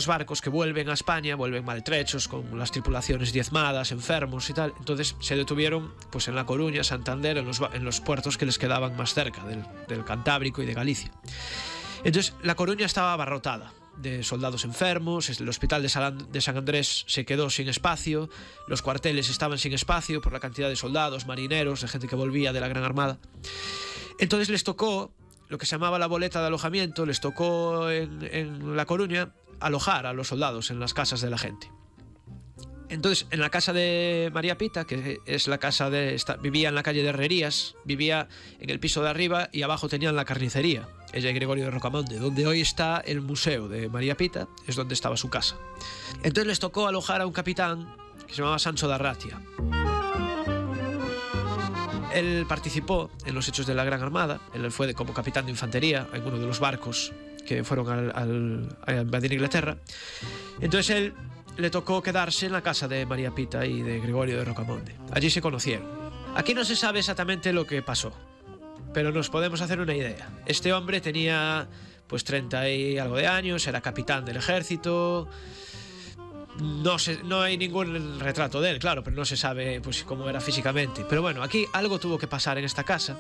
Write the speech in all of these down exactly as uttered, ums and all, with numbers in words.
Los barcos que vuelven a España vuelven maltrechos, con las tripulaciones diezmadas, enfermos y tal. Entonces se detuvieron pues en La Coruña, Santander, en los, en los puertos que les quedaban más cerca del, del Cantábrico y de Galicia. Entonces La Coruña estaba abarrotada de soldados enfermos, el hospital de San, de San Andrés se quedó sin espacio, los cuarteles estaban sin espacio por la cantidad de soldados, marineros, de gente que volvía de la Gran Armada. Entonces les tocó lo que se llamaba la boleta de alojamiento, les tocó en, en La Coruña alojar a los soldados en las casas de la gente. Entonces, en la casa de María Pita, que es la casa de... Esta, vivía en la calle de Herrerías, vivía en el piso de arriba y abajo tenían la carnicería, ella y Gregorio de Rocamonde, donde hoy está el museo de María Pita, es donde estaba su casa. Entonces les tocó alojar a un capitán que se llamaba Sancho de Arratia. Él participó en los hechos de la Gran Armada, él fue de, como capitán de infantería en uno de los barcos que fueron al, al, a invadir Inglaterra. Entonces él le tocó quedarse en la casa de María Pita y de Gregorio de Rocamonde. Allí se conocieron. Aquí no se sabe exactamente lo que pasó, pero nos podemos hacer una idea. Este hombre tenía pues treinta y algo de años, era capitán del ejército. No, se, no hay ningún retrato de él, claro, pero no se sabe pues cómo era físicamente. Pero bueno, aquí algo tuvo que pasar en esta casa,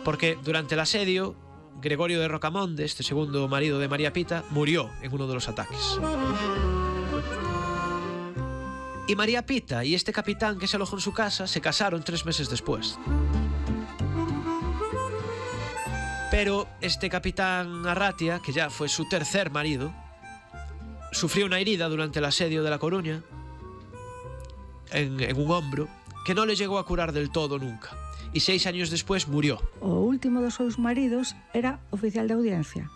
porque durante el asedio Gregorio de Rocamonde, este segundo marido de María Pita, murió en uno de los ataques. Y María Pita y este capitán que se alojó en su casa se casaron tres meses después. Pero este capitán Arratia, que ya fue su tercer marido, sufrió una herida durante el asedio de La Coruña en, en un hombro que no le llegó a curar del todo nunca. Y seis años después murió. O último dos seus maridos era oficial de audiencia,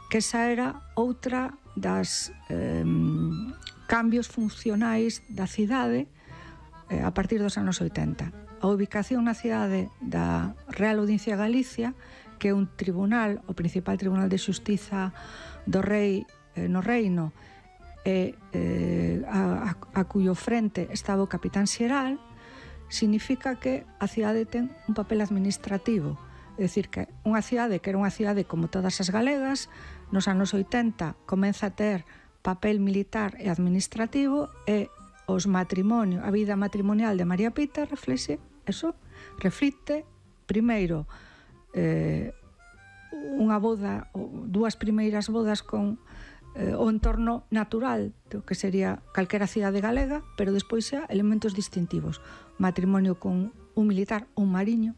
que esa era outra das eh, cambios funcionais da cidade eh, a partir dos anos oitenta. A ubicación na cidade da Real Audiencia de Galicia, que é un tribunal, o principal tribunal de xustiza do rei eh, no reino, e eh, a, a, a cuyo frente estaba o capitán xeral, significa que a cidade ten un papel administrativo. É dicir, que unha cidade que era unha cidade como todas as galegas, nos anos oitenta comeza a ter papel militar e administrativo, e os matrimonios, a vida matrimonial de María Pita reflexe eso, reflite primeiro eh, unha boda, dúas primeiras bodas con eh, o entorno natural do que sería calquera cidade galega, pero despois xa elementos distintivos, matrimonio con un militar, un mariño,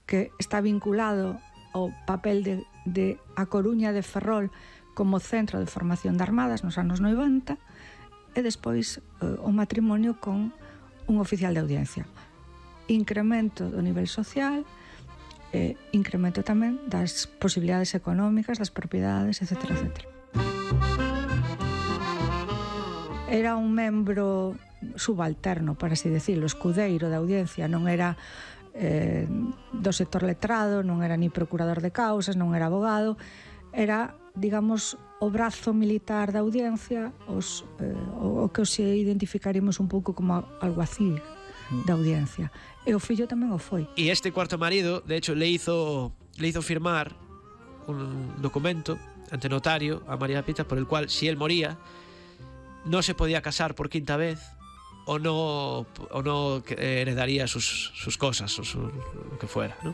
que está vinculado ao papel de, de A Coruña de Ferrol como centro de formación de armadas nos anos noventa, e despois eh, o matrimonio con un oficial de audiencia. Incremento do nivel social, e incremento tamén das posibilidades económicas, das propiedades, etcétera, etcétera. Era un membro subalterno, para así decirlo, escudeiro da audiencia, non era eh, do sector letrado, non era ni procurador de causas, non era abogado, era, digamos, o brazo militar da audiencia, os, eh, o, o que os identificaríamos un pouco como alguacil da audiencia. E o fillo tamén o foi. Y este cuarto marido, de hecho, le hizo, le hizo firmar un documento ante notario a María Pita por el cual, si él moría, no se podía casar por quinta vez o no, o no heredaría sus, sus cosas o su, lo que fuera, ¿no?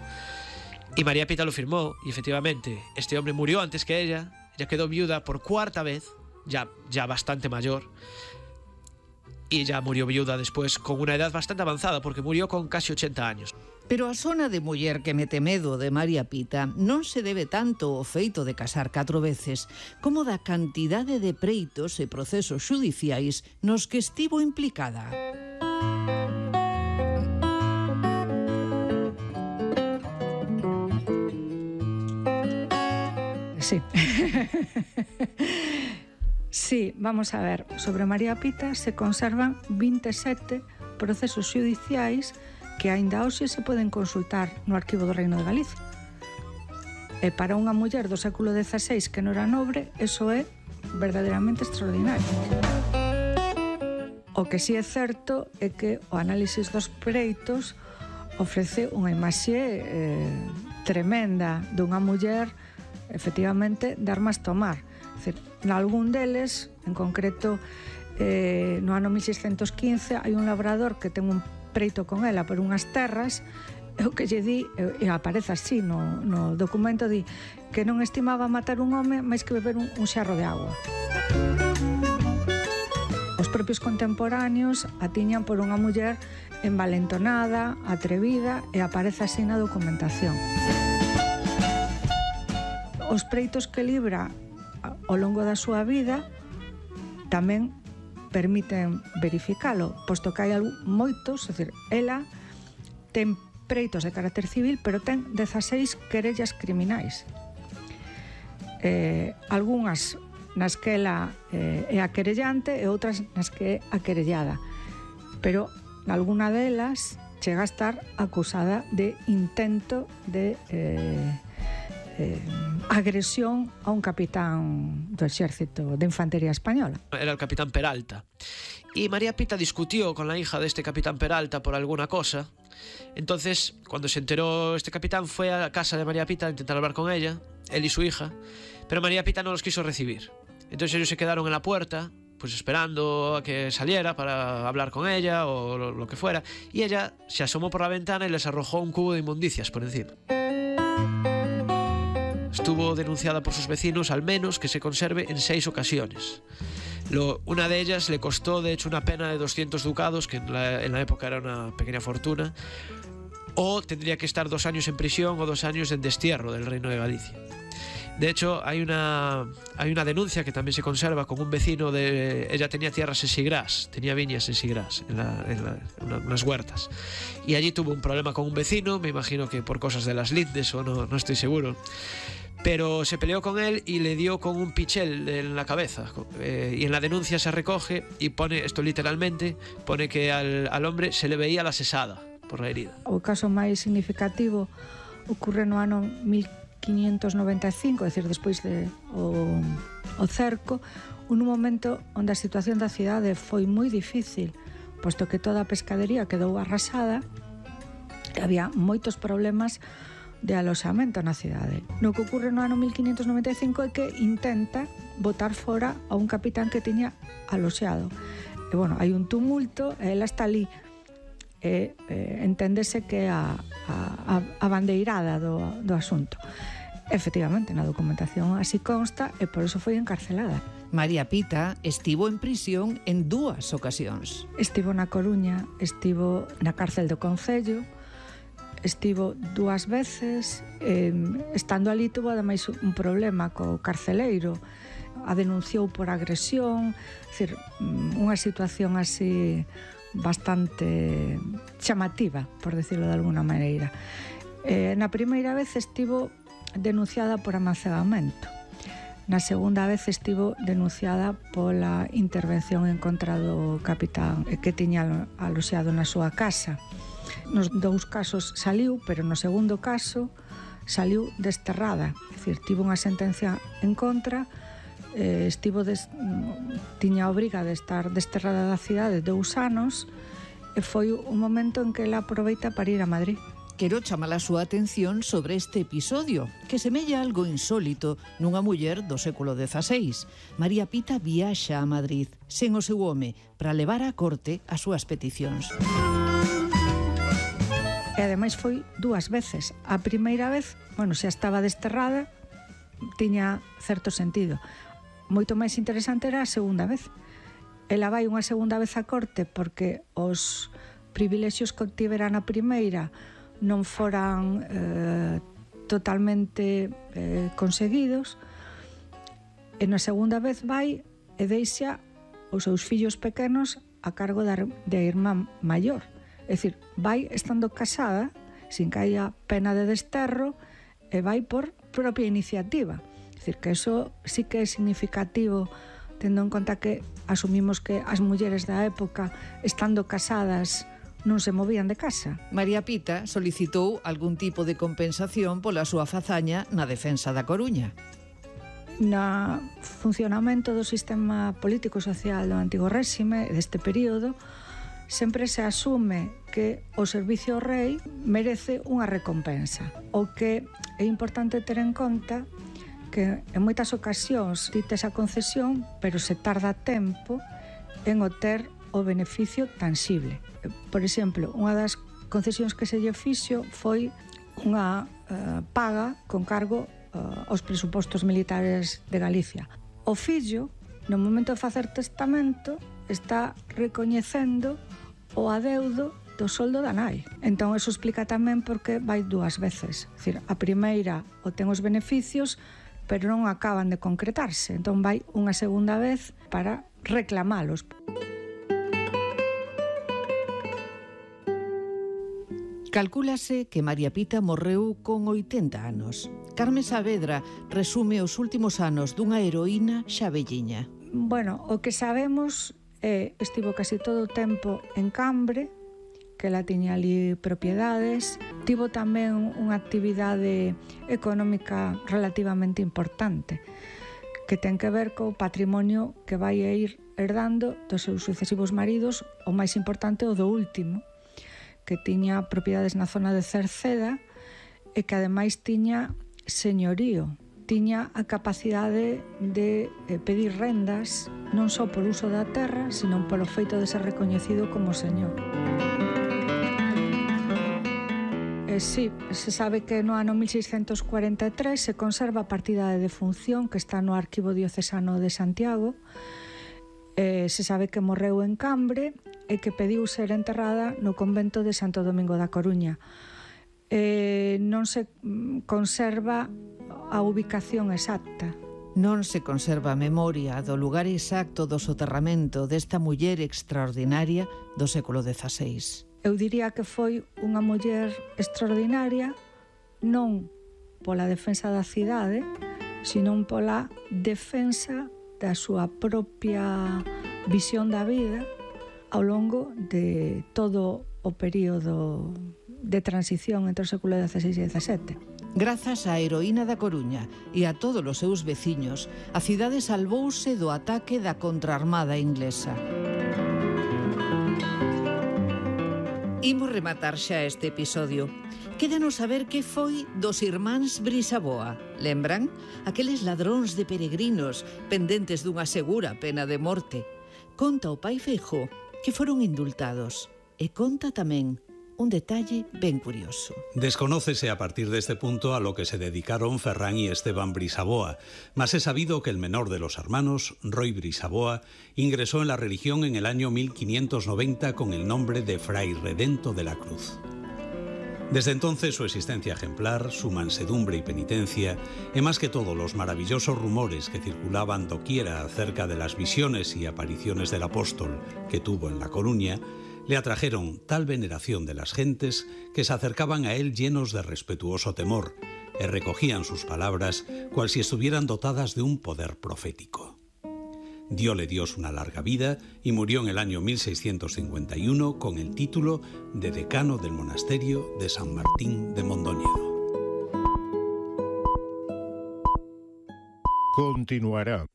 Y María Pita lo firmó y efectivamente este hombre murió antes que ella, ella quedó viuda por cuarta vez, ya, ya bastante mayor, y ella murió viuda después con una edad bastante avanzada porque murió con casi ochenta años. Pero a sona de muller que mete medo de María Pita non se debe tanto ao feito de casar catro veces como da cantidade de preitos e procesos xudiciais nos que estivo implicada. Sí. Sí, vamos a ver, sobre María Pita se conservan vinte e sete procesos xudiciais que aínda hoxe se poden consultar no Arquivo do Reino de Galicia. E para unha muller do século dezaseis que non era nobre, eso é verdadeiramente extraordinario. O que sí é certo é que o análisis dos preitos ofrece unha imaxe eh, tremenda dunha muller efectivamente de armas tomar. É dicir, nalgún deles, en concreto eh, no ano mil seiscentos quince, hai un labrador que ten un preito con ela por unhas terras, e o que lle di, e aparece así no, no documento, di que non estimaba matar un home máis que beber un, un xarro de agua. Os propios contemporáneos a tiñan por unha muller envalentonada, atrevida, e aparece así na documentación. Os preitos que libra ao longo da súa vida tamén permiten verificalo, posto que hai moitos, é dicir, ela ten preitos de carácter civil, pero ten dezaseis querellas criminais. Eh, algunhas nas que ela eh, é a querellante e outras nas que é a querellada. Pero nalgúna delas chega a estar acusada de intento de eh, eh, agresión a un capitán do exército de infantería española. Era el capitán Peralta. Y María Pita discutió con la hija de este capitán Peralta por alguna cosa. Entonces, cuando se enteró este capitán, fue a la casa de María Pita a intentar hablar con ella, él y su hija, pero María Pita no los quiso recibir. Entonces ellos se quedaron en la puerta, pues esperando a que saliera para hablar con ella o lo, lo que fuera, y ella se asomó por la ventana y les arrojó un cubo de inmundicias por encima. Estuvo denunciada por sus vecinos, al menos que se conserve, en seis ocasiones. Lo, una de ellas le costó, de hecho, una pena de doscientos ducados, que en la, en la época era una pequeña fortuna, o tendría que estar dos años en prisión o dos años en destierro del Reino de Galicia. De hecho, hay una, hay una denuncia que también se conserva con un vecino de... Ella tenía tierras en Sigrás, tenía viñas en Sigrás, en, la, en, la, en unas huertas. Y allí tuvo un problema con un vecino, me imagino que por cosas de las lindes o no, no estoy seguro. Pero se peleó con él y le dio con un pichel en la cabeza. Eh, y en la denuncia se recoge y pone, esto literalmente, pone que al, al hombre se le veía la sesada por la herida. O caso máis significativo ocurre no ano mil quinientos noventa e cinco, é dicir, despois de o, o cerco, un momento onde a situación da cidade foi moi difícil, posto que toda a pescadería quedou arrasada e había moitos problemas de aloxamento na cidade. No que ocurre no ano mil quinientos noventa e cinco é que intenta botar fora a un capitán que tiña aloxado. E, bueno, hai un tumulto e ela está ali. E, eh, enténdese que é a, a, a bandeirada do, do asunto. Efectivamente, na documentación así consta e por eso foi encarcelada. María Pita estivo en prisión en dúas ocasións. Estivo na Coruña, estivo na cárcel do Concello, estivo dúas veces, eh, estando ali tuvo ademais un problema co carceleiro, a denunciou por agresión, é dicir, unha situación así bastante chamativa, por decirlo de alguna maneira. Eh, na primeira vez estivo denunciada por amancebamento. Na segunda vez estivo denunciada pola intervención en contra do capitán que tiña aloxado na súa casa. Nos dous casos saliu, pero no segundo caso saliu desterrada, é dicir, tivo unha sentencia en contra, eh, estivo des, tiña a obriga de estar desterrada da cidade dous anos e foi un momento en que ela aproveita para ir a Madrid. Quero chamar a súa atención sobre este episodio, que semella algo insólito nunha muller do século dezaseis. María Pita viaxa a Madrid, sen o seu home, para levar á corte as súas peticións. E ademais foi dúas veces. A primeira vez, bueno, xa estaba desterrada, tiña certo sentido. Moito máis interesante era a segunda vez. Ela vai unha segunda vez á corte porque os privilexios que obtivera na primeira non foran eh, totalmente eh, conseguidos, e na segunda vez vai e deixa os seus fillos pequenos a cargo da, da irmá maior. É dicir, vai estando casada, sin que haya pena de desterro, e vai por propia iniciativa. É dicir, que eso sí que é significativo, tendo en conta que asumimos que as mulleres da época, estando casadas, non se movían de casa. María Pita solicitou algún tipo de compensación pola súa fazaña na defensa da Coruña. No funcionamento do sistema político-social do antigo réxime, deste período, sempre se asume que o servicio ao rei merece unha recompensa. O que é importante ter en conta que en moitas ocasións ti tes a concesión, pero se tarda tempo en obter o beneficio tangible. Por exemplo, unha das concesións que se lle fixo foi unha uh, paga con cargo uh, aos presupostos militares de Galicia. O fillo, no momento de facer testamento, está recoñecendo o adeudo do soldo da nai. Entón, eso explica tamén porque vai dúas veces. É dicir, a primeira obtén os beneficios, pero non acaban de concretarse. Entón, vai unha segunda vez para reclamalos. Calcúlase que María Pita morreu con oitenta anos. Carmen Saavedra resume os últimos anos dunha heroína xa velliña. Bueno, o que sabemos é estivo casi todo o tempo en Cambre, que ela tiña ali propiedades, tivo tamén unha actividade económica relativamente importante, que ten que ver co patrimonio que vai a ir herdando dos seus sucesivos maridos, o máis importante o do último, que tiña propiedades na zona de Cerceda e que ademais tiña señorío, tiña a capacidade de eh, pedir rendas non só por uso da terra, sino polo feito de ser recoñecido como señor. Eh, sí, se sabe que no ano mil seiscentos cuarenta e tres se conserva a partida de defunción que está no Arquivo Diocesano de Santiago. Eh, se sabe que morreu en Cambre e que pediu ser enterrada no convento de Santo Domingo da Coruña. Eh, non se conserva a ubicación exacta. Non se conserva a memoria do lugar exacto do soterramento desta muller extraordinaria do século dezaseis. Eu diría que foi unha muller extraordinaria non pola defensa da cidade, sino pola defensa da súa propia visión da vida ao longo de todo o período de transición entre o século dezaseis e dezasete. Grazas á heroína da Coruña e a todos os seus veciños, a cidade salvouse do ataque da contraarmada inglesa. Imos rematar xa este episodio. Quédanos saber que foi dos irmáns Brisaboa. Lembran? Aqueles ladróns de peregrinos pendentes dunha segura pena de morte. Conta o pai Feijóo que foron indultados. E conta tamén un detalle ben curioso. Desconócese a partir de este punto a lo que se dedicaron Ferrán y Esteban Brisaboa, mas es sabido que el menor de los hermanos, Roy Brisaboa, ingresó en la religión en el año mil quinientos noventa con el nombre de Fray Redento de la Cruz. Desde entonces su existencia ejemplar, su mansedumbre y penitencia, y más que todo los maravillosos rumores que circulaban doquiera acerca de las visiones y apariciones del apóstol que tuvo en La Coruña, le atrajeron tal veneración de las gentes que se acercaban a él llenos de respetuoso temor y recogían sus palabras cual si estuvieran dotadas de un poder profético. Diole Dios una larga vida y murió en el año mil seiscientos cincuenta y uno con el título de decano del monasterio de San Martín de Mondoñedo. Continuará.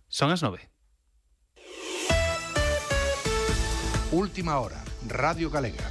Son as nove. Última hora, Radio Galega.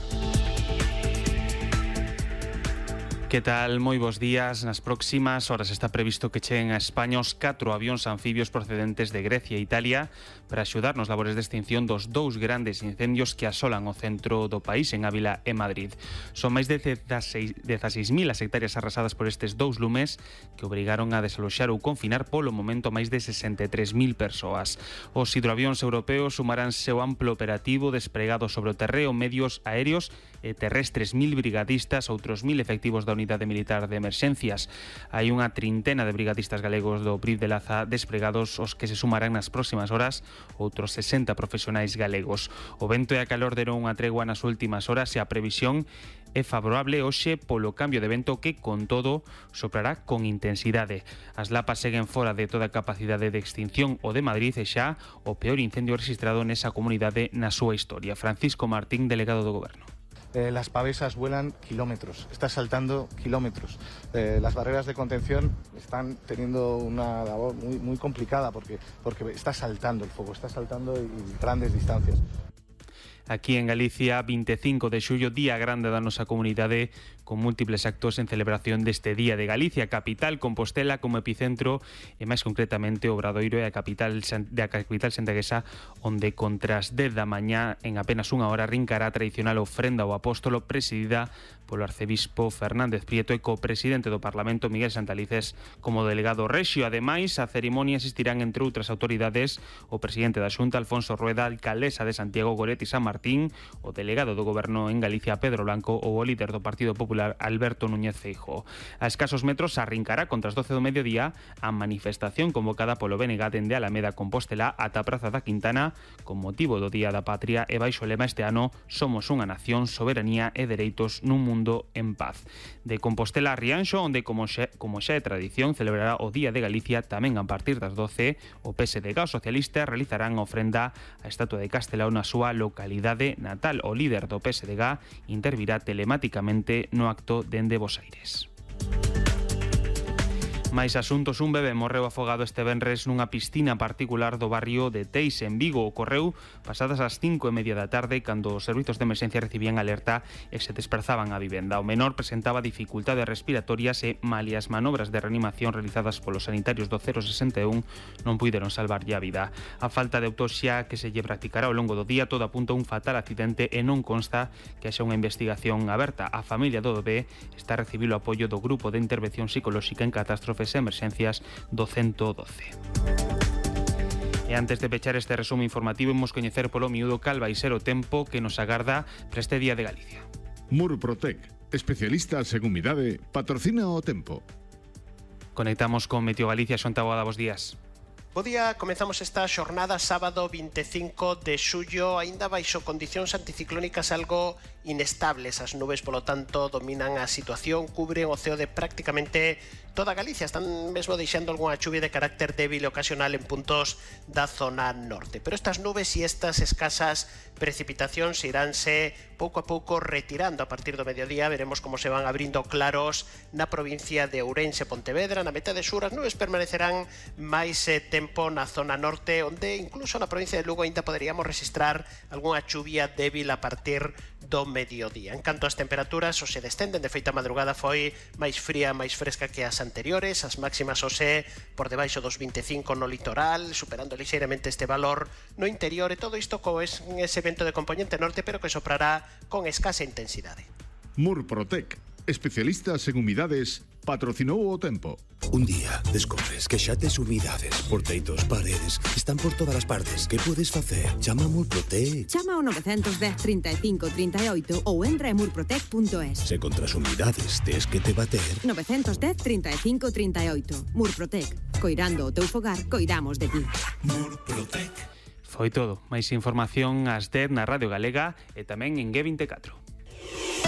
Que tal? Moi bons días. Nas próximas horas está previsto que cheguen a España os catro avións anfibios procedentes de Grecia e Italia para axudar nos labores de extinción dos dous grandes incendios que asolan o centro do país, en Ávila e Madrid. Son máis de dezaseis mil as hectáreas arrasadas por estes dous lumes que obrigaron a desaloxar ou confinar polo momento máis de sesenta e tres mil persoas. Os hidroavións europeos sumarán seu amplo operativo desplegado sobre o terreo, medios aéreos e terrestres, mil brigadistas, outros mil efectivos da Unidade Militar de Emerxencias. Hai unha trintena de brigadistas galegos do Brif de Laza desplegados, os que se sumarán nas próximas horas outros sesenta profesionais galegos. O vento e a calor deron unha tregua nas últimas horas e a previsión é favorable hoxe polo cambio de vento que, con todo, soprará con intensidade. As lapas seguen fora de toda a capacidade de extinción o de Madrid e xa o peor incendio registrado nesa comunidade na súa historia. Francisco Martín, delegado do Goberno. Eh, las pavesas vuelan kilómetros, está saltando kilómetros. Eh, las barreras de contención están teniendo una labor muy, muy complicada porque, porque está saltando el fuego, está saltando y grandes distancias. Aquí en Galicia, vinte e cinco de xullo, día grande da nosa comunidade, con múltiples actos en celebración deste Día de Galicia, capital Compostela como epicentro e máis concretamente Obradoiro e a capital da capital santaguesa, onde contra as dez da mañá en apenas unha hora rincará a tradicional ofrenda ao apóstolo presidida polo arcebispo Fernández Prieto e co-presidente do Parlamento Miguel Santalices como delegado rexio. Ademais, a cerimonia asistirán entre outras autoridades o presidente da Xunta Alfonso Rueda, a alcaldesa de Santiago Goretti San Martín, o delegado do Goberno en Galicia Pedro Blanco ou o líder do Partido Popular Alberto Núñez Feijóo. A escasos metros arrincará contra as doce do mediodía a manifestación convocada polo B N G dende Alameda Compostela ata a Praza da Quintana con motivo do Día da Patria e baixo o lema este ano Somos unha nación, soberanía e dereitos nun mundo en paz. De Compostela a Rianxo, onde como xa, como xa é tradición celebrará o Día de Galicia, tamén a partir das doce o P S D G e os socialistas realizarán ofrenda á estatua de Castelao na súa localidade natal. O líder do P S D G intervirá telemáticamente no acto dende Bos Aires. Máis asuntos, un bebé morreu afogado este venres nunha piscina particular do barrio de Teis, en Vigo. Ocorreu pasadas as cinco e media da tarde, cando os servizos de emerxencia recibían alerta e se desprazaban á vivenda. O menor presentaba dificultades respiratorias e, malia as manobras de reanimación realizadas polos sanitarios do cero sesenta e un, non puideron salvarlle a vida. A falta de autopsia que se lle practicará ao longo do día todo apunta a un fatal accidente e non consta que haxa unha investigación aberta. A familia do bebé está a recibir o apoio do Grupo de Intervención Psicolóxica en Catástrofes e Emerxencias do ciento doce. E antes de pechar este resumo informativo, imos coñecer polo miúdo cal vai ser o tempo que nos agarda para este Día de Galicia. Murprotec, especialistas en humidade, patrocina o tempo. Conectamos con Meteo Galicia. Xon Taboada, bos días. Bo día, comezamos esta xornada sábado vinte e cinco de xullo, aínda baixo condicións anticiclónicas algo inestables. As nubes, polo tanto, dominan a situación, cubren o ceo de prácticamente toda Galicia. Están mesmo deixando algunha chuvia de carácter débil e ocasional en puntos da zona norte. Pero estas nubes e estas escasas precipitacións iránse pouco a pouco retirando a partir do mediodía. Veremos como se van abrindo claros na provincia de Ourense, Pontevedra, na metade sur. As nubes permanecerán máis eh, tempo na zona norte, onde incluso na provincia de Lugo ainda poderíamos registrar algunha chuvia débil a partir do mediodía. En canto ás temperaturas, hoxe descenden. De feito, a madrugada foi máis fría, máis fresca que as anteriores. As máximas hoxe por debaixo dos vinte e cinco no litoral, superando lixeiramente este valor no interior, e todo isto co es, ese vento de componente norte, pero que soprará con escasa intensidade. Murprotec, especialistas en humidades, patrocinou o tempo. Un día descubres que xa tes humidades por teitos, paredes, están por todas as partes. Que podes facer? Chama a Murprotec. Chama ao nove un cero, trinta e cinco, trinta e oito ou entra en murprotec punto es. Se contra as humidades tes que te bater, nove un cero, trinta e cinco, trinta e oito. Murprotec. Coirando o teu fogar, coidamos de ti. Murprotec. Foi todo. Máis información ás dez na Radio Galega e tamén en G vinte e catro.